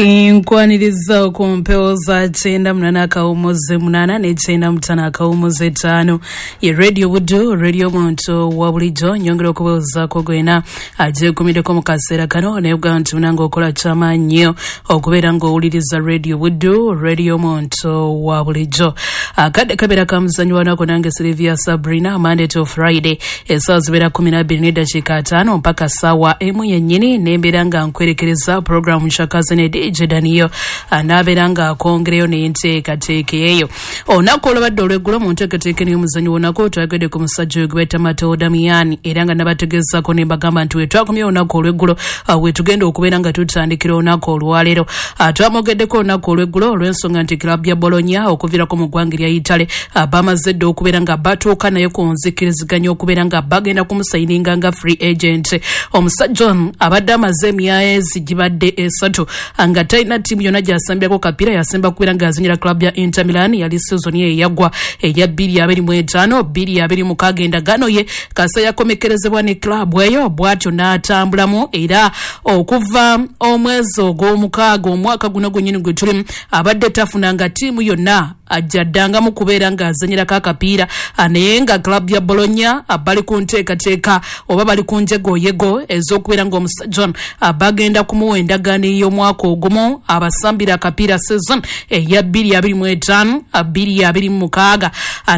Nkwaniriza ku mpewo za 98.8 ne 95.5 ye Radio Buddu, radio muntu wa bulijjo. Nyongera okubuuzaako gwena agyekumiddeko mu kaseera kano, naye bwa nti munange okola kyamaanyi nnyo okubeera ng'owuliriza Radio Buddu, radio muntu wa bulijjo. Akadde kabeera ka muzannyo wanaku nange Sylvia Sabrina, Monday to Friday essaawa zibeera 12:05 mpaka ssaawa 1 yennyini, nembeera nga nkwerekereza programu Nshakaze ne DJ Daniyo anaabeera nga akongereyo n'enteekateeka eyo. Olunaku olwabadde olweggulo mu nteekateeka n'omuzannyo wonako twayogedde ku musajja oyo gwe bayita Matteo Damiani, era nga nabategeezaako ne mbagamba nti wetwakomye olunaku olweggulo wetugenda okubeera nga tutandikira olunaku olwaleero. Twamwogeddeko olunaku olweggulo olw'ensonga nti club ya Bologna okuviirako mu ggwanga erya Italy bamaze dda okubeera nga batuuka naye ku nzikiriziganya okubeera nga bagenda kumusayininga nga free agent. Omusajja ono abadde amaze emyezi gibadde 3 nga talina ttiimu yonna gy'asambyako kapiira, yasemba kubeera ng'azanyira club ya Inter Milan, yali season ye eyagwa eya 2025 2026. Endagaano ye kasa yakomekerezebwa ne club eyo, bw'atyo n'atambulamu, era okuva omwezi ogw'omukaaga omwaka guno gwennyini gwe tulimu abadde tafunanga ttiimu yonna ajja ddangamu kubeera ng'azanyirako akapiira, naye nga club ya Bologna bali ku nteekateeka oba bali ku njegoyego ez'okubeera ng'omusajja ono bagenda kumuwa endagaano ey'omwaka ogumu abasambira akapiira season eya 2025 2026.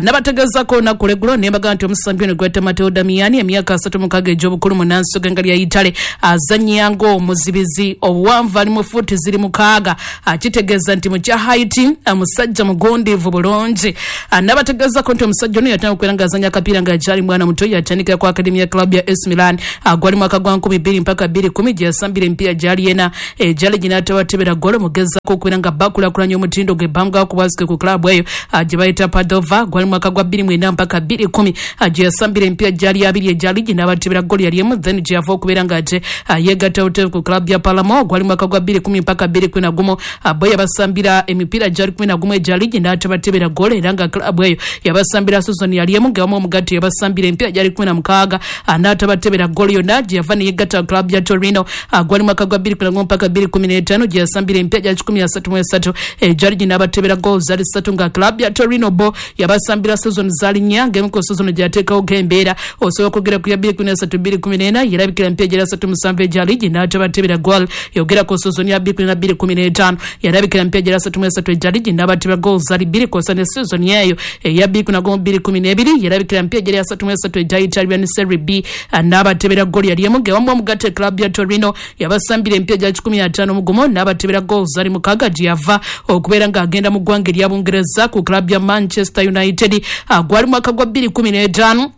Nabategeezaako olunaku olweggulo ne mbagamba nti omusambi ono gweta Matteo Damiani, emyaka 36 egy'obukulu, munnansi w'eggwanga lya Italy, azannya ng'omuzibizi, obuwanvu ali mu fuuti ziri 6, kitegeeza nti mu kya height musajja mugundiivu bulungi. Nabategeezaako nti omusajja ono yatandika okubeera ng'azannya akapiira ng'akyali mwana muto, yatandikira ku akademi ya club ya AC Milan, gwali mwaka gwa 2000 mpaka 2010 gye yasambira emipiira gyali ena egyali ginaatabatebera golo mugezaako okubeera nga bakulaakulanya omutindo gwe bamugakubwazike ku club eyo gye bayita Padova, gwali mwaka gwa 2009 mpaka 2010 gye yasambira emipiira gyali 2 egyali ginabatebera golo yali emu, then gye yava okubeera ng'ate yeegatta butereevu ku club ya Palermo, gwali mwaka gwa 2010 mpaka 2011, bo yabasambira emipiira gyali 11 egyali ginaatabatebera golo, era nga club eyo yabasambira season yali emu nga wamu omugatte yabasambira emipiira gyali 16 n'atabatebera golo yonna, gye yava ne yeegatta club ya Torino, gwali mwaka gwa 2011 mpaka 2015 gye yasambira emipiira gya 133 egyali ginabatebera golo zaali 3, nga club ya Torino bo yabasambira season zaali 4, ng'emu ku season gyateekawo g'embeera osobola okwogera ku ya 2013 2014 yerabikira emipiira gyali 37 egyali ginaatabatebera gol, yogera ku season ya 2014 2015 yarabikira emipiira gyali 33 egyali ginabatebera gol zaali 2, kw'ossa ne season yeeyo eya 2011 2012 yerabikira emipiira gyali 33 egya Italian Serie B n'abatebera gol yali emu, ng'ewamu omugatte club ya Torino yabasambira emipiira gya 151 n'abatebera gol zaali 6, gye yava okubeera ng'agenda mu ggwanga erya Bungereza ku club ya Manchester United, gwali mwaka gwa 2015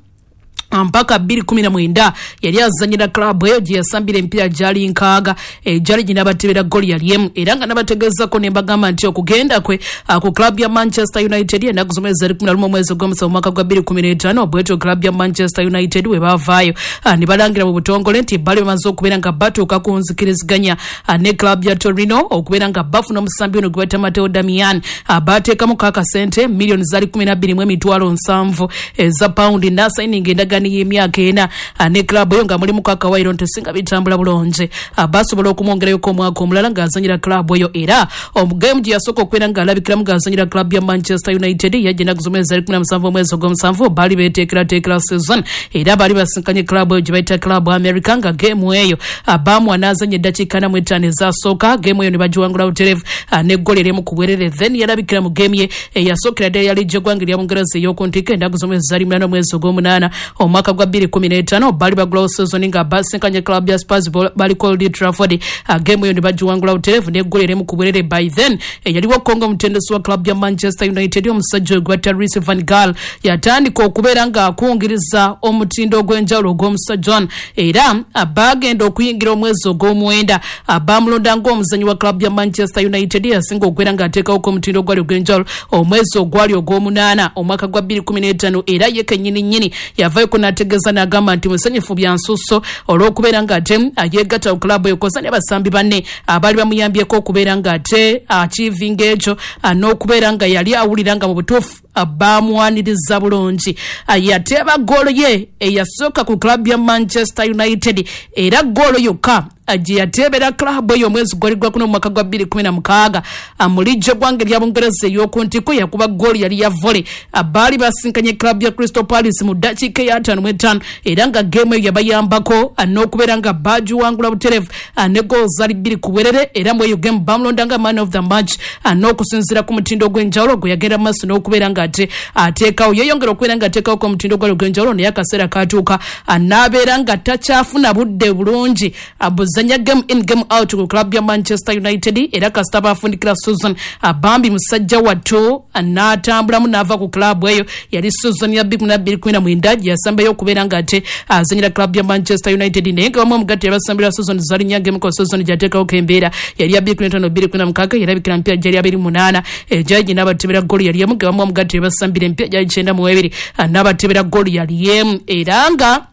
mpaka 2019 yali azanyira club eyo gye yasambira emipiira gyali 6 egyali ginabatebera goli yali emu, era nga nabategeezako ne mbagamba nti okugenda kwe ku club ya Manchester United ennaku z'omwezi 11 omwezi ogw'omusanvu omwaka gwa 2015, bwetyo club ya Manchester United we baavaayo ne balangira mu butongole nti bali bamaze okubeera nga batuuka ku nzikiriziganya ne club ya Torino okubeera nga bafuna omusambi ono gwe bayita Matteo Damiani. Baateekamu akasente miliyoni zaali 12,700 eza pawundi n'asayininga endagaano y'emyaka 4 ne club eyo, nga mulimu akawaayiro nti singa bitambula bulungi basobola okumwongerayoko omwaka omulala ng'azanyira club eyo. Era omugemu gye yasooka okubeera ng'alabikiramu ng'azanyira club ya Manchester United yajja ennaku z'omwezi 17 omwezi ogw'omusanvu, baali beeteekerateekera season, era baali basinkanye club eyo gye bayita Club America, nga geemu eyo baamuwa n'azanya eddakiika 45 ezasooka, geemu eyo ne bagiwangula butereevu n'eggolo erimu ku bwerere. Then yalabikira mu geemu ye eyasookera ddala yali gy'eggwanga erya Bungereza ey'oku ntikko ennaku z'omwezi 8 omwezi ogw'omunaana omwaka gwa 2015, baali bagulawo season nga basinkanye club ya Spurs, baliko Old Trafford, geemu eyo ne bagiwangula butereevu n'eggolo erimu ku bwerere. By then eyaliwo Kongo omutendesi wa club ya Manchester United omusajja oyo gwe bayita Louis van Gaal yatandika okubeera ng'akungiriza omutindo ogw'enjawulo ogw'omusajja ono, era bagenda okuyingira omwezi ogw'omwenda bamulonda ng'omuzannyi wa club ya Manchester United yasinga okubeera ng'ateekawoko omutindo ogwali ogw'enjawulo omwezi ogwali ogw'omunaana omwaka gwa 2015, era ye kennyini nnyini yavayo Avuddeyo n'ategeeza n'agamba nti musanyufu bya nsusso olw'okubeera ng'ate yeegatta ku club eyo, kosa ne basambi banne abaali bamuyambyeko okubeera ng'ate achievinga ekyo, n'okubeera nga yali awulira nga mu butuufu bamwaniriza bulungi. Yateeba goolo ye eyasooka ku club ya Manchester United, era goolo yokka gye yateebera club eyo omwezi gwali gwakuno mu mwaka gwa 2016 mu liigi eggwanga erya Bungereza ey'oku ntikko. Yakuba goolo yali ya volley, baali basinkanye club ya Crystal Palace mu ddakiika eya 55, era nga game eyo yabayambako n'okubeera nga bagiwangula butereevu ne goolo zaali 2-0. Era mu eyo game bamulonda nga man of the match, n'okusinziira ku mutindo ogw'enjawulo gwe yagenda mu maaso n'okubeera nga ate ateekawo, yeeyongera okubeera nga ateekawo ku mutindo gwali ogw'enjawulo. Naye akaseera katuuka n'abeera nga takyafuna budde bulungi buzanya game in, game out ku club ya Manchester United, era kasita bafundikira season, bambi musajja wattu n'atambulamu n'ava ku club eyo. Yali season ya 2019 gye yasembayo okubeera nga ate azanyira club ya Manchester United, naye nga bamu omugatte yabasambira season zali nnya. Game ko season gyateekawo embeera yali ya 2015 2016, yarabikira mpya gyali 28 egyali n'abatebera goolo yali emu, nga bamu omugatte yabasambira empya gyali 92 n'abatebera goolo yali emu. Era nga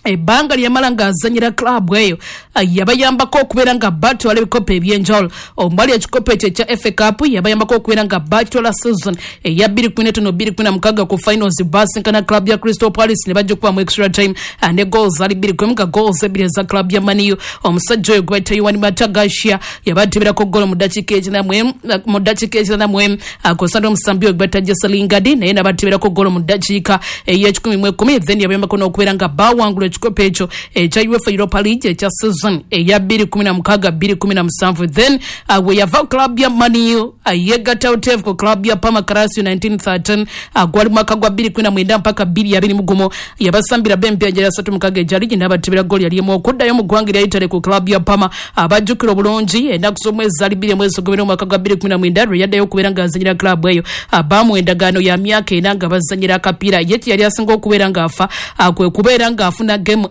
ebbanga lyamala ng'azanyira club eyo, yabayambako okubeera nga batwala ebikopo ebyenjawulo omwali ekikopo ekyo ekya FA Cup. Yabayambako okubeera nga batwala season eya 2015 2016. Ku finals basinkana club ya Crystal Palace ne bajja okuba mu extra time ne goals zali 2-1, nga goals ebbiri eza club ya Man U. Omusajja oyo gwe bayita Juan Mata Garcia yabateberako goolo mu ddakiika 91, akosa n'omusambi oyo gwe bayita Jesse Lingard, naye nabateberako goolo mu ddakiika ey'e11. Then yabayambako n'okubeera nga bawangula ekikopo ekyo ekya UEFA Europa League ekya season eya 2016 2017. Then we yava club ya Man U, yegatta utevu ku club ya Parma Calcio 1913, gwali mwaka gwa 2019 mpaka 2021. Yabasambira b'empya gyali 36 egyali gye n'abatebera goolo yali emu. Okuddayo mu ggwanga erya Italy ku club ya Parma, abajjukira obulungi ennaku z'omwezi zali 2 mwezi ogw'ebiri omwaka gwa 2019 lwe yaddayo okubeera ng'azanyira club eyo. Bamuwa endagaano ya myaka 4 nga bazanyira akapiira. Ye kye yali asinga okubeera ng'afa kwe kubeera ng'afuna game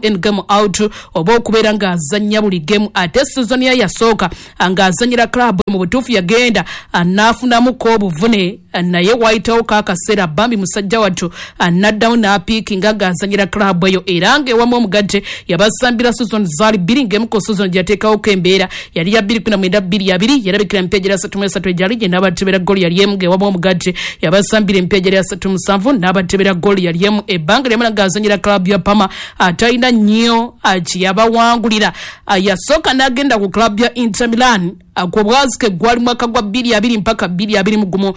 in, game out, oba okubeera ng'azannya buli game. Ate season ye yasooka ng'azanyira club, mu butuufu yagenda n'afunamuko obuvune, naye wayitawo kaakaseera bambi musajja wattu n'addamu n'apiikinga ng'azanyira club eyo. Era ng'ewamu omugatte yabasambira season zaali bbiri, ng'emu ku season gye yateekawoko embeera yali ya 2019 2020. Yarabikira empya gyali 33 egyali gye n'abatebera goolo yali emu, ng'ewamu omugatte yabasambira empya gyali 37 n'abatebera goolo yali emu. Ebbanga lyamala ng'azanyira club ya Parma atalina nnyo kyeyabawangulira. Yasooka n'agenda ku club ya Inter Milan ku bwazike, gwali mwaka gwa 2020 mpaka 2021.